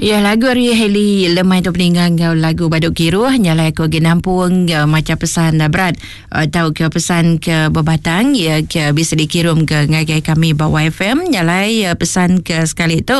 Ya lagu ari Hailey lemai tu peninga enggau lagu Badu Kiruh nyalai aku agi nampung uh, macha pesan uh, berat uh, tau ke pesan ke bebatang ya ke bisa dikirum ke ngagai kami ba YFM nyalai uh, pesan ke sekali tu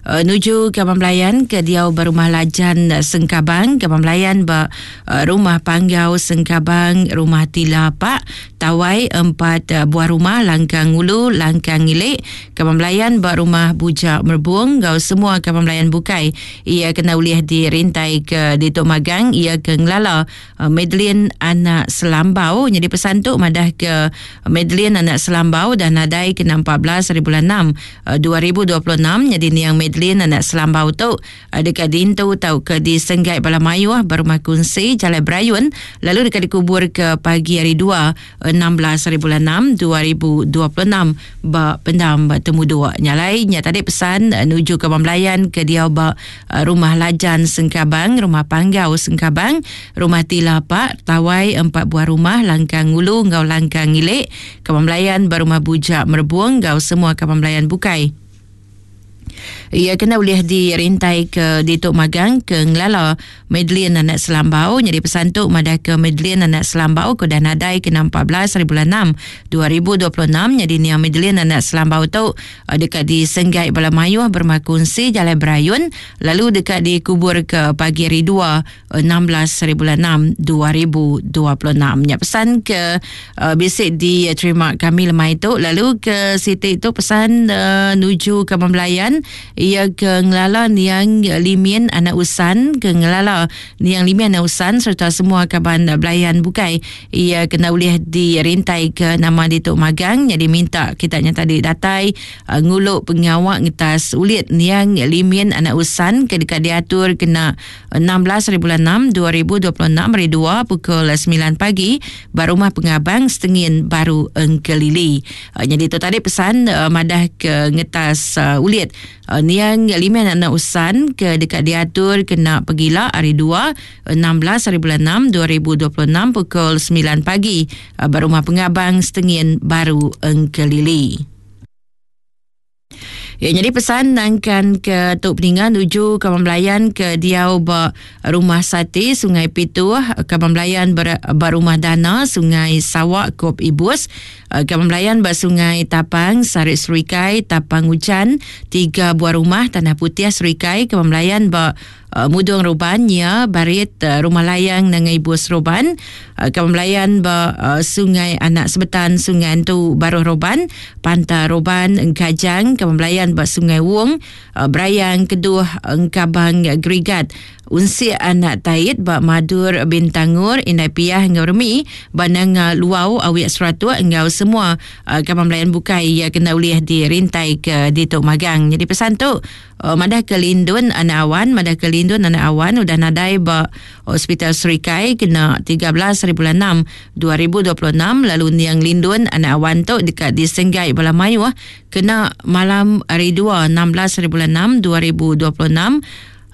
uh, nuju ke Abang Belayan ke diau ba rumah Lajan uh, Sengkabang ke Abang Belayan ba uh, rumah Panggau Sengkabang rumah Tila Pak Tawai empat uh, buah rumah Langkang Ulu Langkang Ngilik Kaban belayan ba rumah Buja Merbung enggau semua kaban belayan bukai iya kena ulih dirintai ke ditu magang iya ke ngelala Madeline anak Selambau nyadi pesan tu madah ke Madeline anak Selambau dah nadai kena 14 hari bulan 6 2026 nyadi niang Madeline anak Selambau tu deka diintu tauka disenggai bala mayuh ba rumah kunsi Jalai Berayun lalu deka dikubur ke pagi hari 2 16 hari bulan 6 2026 ba pendam Temuduk. Nya alai nya tadi pesan nuju ke Abang Belayan ke diau ba Rumah Lajan Sengkabang, Rumah Panggau Sengkabang, Rumah Tila Pak, Tawai empat buah rumah Langkang Ngulu enggau Langkang Ngilik, Kaban Belayan ba Rumah Bujak Merebung enggau semua kaban belayan bukai. Iya kena ulih dirintai ke ditu magang ke ngelala Madeline anak Selambau nyadi pesan tu madah ke Madeline anak Selambau ke udah nadai kena 14 hari bulan 6 2026 nyadi niang Madeline anak Selambau tu eh, deka disenggai bala mayuh berumah kunsi Jalai Berayun lalu deka dikubur ke pagi hari 2 16 hari bulan 6 2026. Nya pesan ke uh, bisi diterima kami lemai tu lalu ke siti tu pesan uh, nuju ke Belayan ia ke ngelala niang Limin anak Usan ke ngelala niang Limin anak Usan serta semua kaban Belayan bukai ia kena ulih dirintai ke nama ditu magang jadi minta kita nya tadi datai uh, ngulu pengawa ngetas ulit niang Limin anak Usan ke deka diatur kena 16 hari bulan 6 2026 hari 2 pukul 9 pagi ba rumah pengabang Setengin Baru Engkelili. Uh, jadi tu tadi pesan uh, madah ke ngetas uh, ulit uh, niang lima anak usan ke dekat diatur kena pegila hari 2 16 hari bulan 6 2026 pukul 9 pagi uh, ba rumah pengabang Setengin Baru Engkelili. Ya, jadi pesan nangkan ke tu peninga nuju kaban belayan ke diau ba rumah Sati Sungai Pituh, kaban belayan ber, ba rumah Dana Sungai Sawak Kop Ibus, eh, kaban belayan ba Sungai Tapang Sarit Serikai Tapang Ujan, tiga buah rumah Tanah Putih Serikai, kaban belayan ba Uh, Mudung Ruban nya barit uh, Rumah Layang Nanga Ibus Ruban uh, Kaban Belayan ba uh, Sungai Anak Sebetan Sungai Antu Baruh Ruban Panta Ruban Engkajang Kaban Belayan ba Sungai Wong uh, Berayang Keduh Engkabang Gerigat Unsik Anak Tait ba Madur Bintangur Indai Piah enggau Remi ba Nanga Luau Awik Seratuk enggau semua uh, kaban belayan bukai iya kena ulih dirintai ke ditu magang. Jadi pesan tu Oh, madah ke Lindun anak awan, madah ke Lindun anak awan udah nadai ba Hospital Serikai kena 13 hari bulan 6 2026 lalu niang Lindun anak awan tu deka disenggai bala mayuh kena malam hari 2 16 hari bulan 6 2026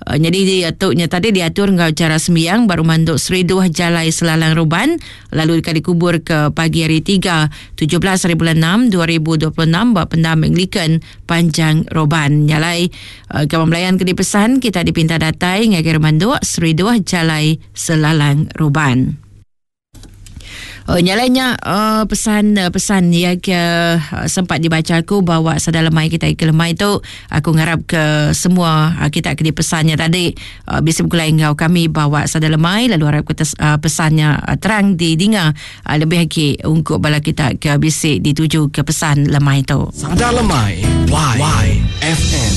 Uh, jadi dia tu nya tadi diatur enggau cara sembiang baru manduk seriduh jalai selalang ruban lalu deka dikubur ke pagi hari 3 17 hari bulan 6 2026 ba pendam Anglican Panjang Roban. Nya alai uh, kaban belayan ke dipesan kita dipinta datai ngagai Remanduk Seriduh Jalai Selalang Roban. Oh, nya alai nya uh, pesan uh, pesan ya ke uh, sempat dibaca aku bawa sada lemai kita ke lemai tu aku ngarap ke semua uh, kita ke dipesannya tadi uh, bisa bergulai enggau kami bawa sada lemai lalu harap ke uh, pesannya uh, terang didinga Ah, lebih agi ungkup bala kita ke bisi dituju ke pesan lemai tu. Sada Lemai Y, Y FM.